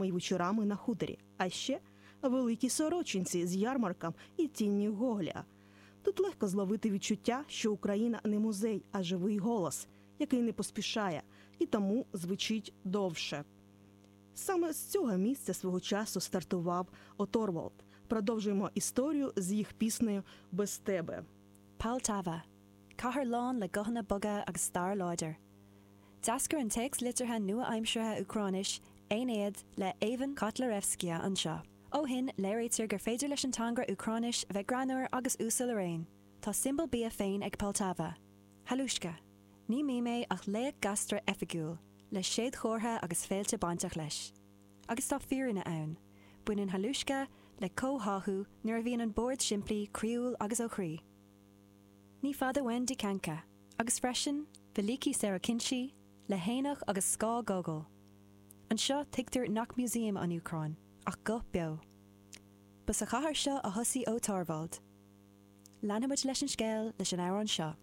й вечорами на хуторі, а ще Великі Сорочинці з ярмарком і тінню Гоголя. Тут легко зловити відчуття, що Україна не музей, а живий голос, який не поспішає і тому звучить довше. Саме з цього місця свого часу стартував О.Торвальд. Продовжуємо історію з їх піснею «Без тебе». Poltava. Cathair lán le guthanna boga agus stair láidir. D'eascair an téacs liteartha nua-aimseartha Úcráinis, Aeneid, le Ivan Kotliarevsky anseo. Ó shin, léirítear gur féidir leis an teanga Úcráinis a bheith greannmhar agus uasal araon. Tá siombail bia féin ag Poltava. Halushka. Ní mím é ach laoch gaisce oifigiúil, le séadchomhartha agus féilte bainteach leis. Agus tá fírinne ann. Baineann Halushka le comhtháthú nuair a bhíonn an bord simplí, croíúil agus ó chroí. Ní fada uainn Dykanka, agus freisin, Velyki Sorokyntsy, le haonach agus scáth Gogol. Anseo, tuigtear nach músaem an Úcráin, ach guth beo. Ba sa chathair seo a thosaigh Ó Torvald. Leanfaimid leis an scéal leis an amhrán seo.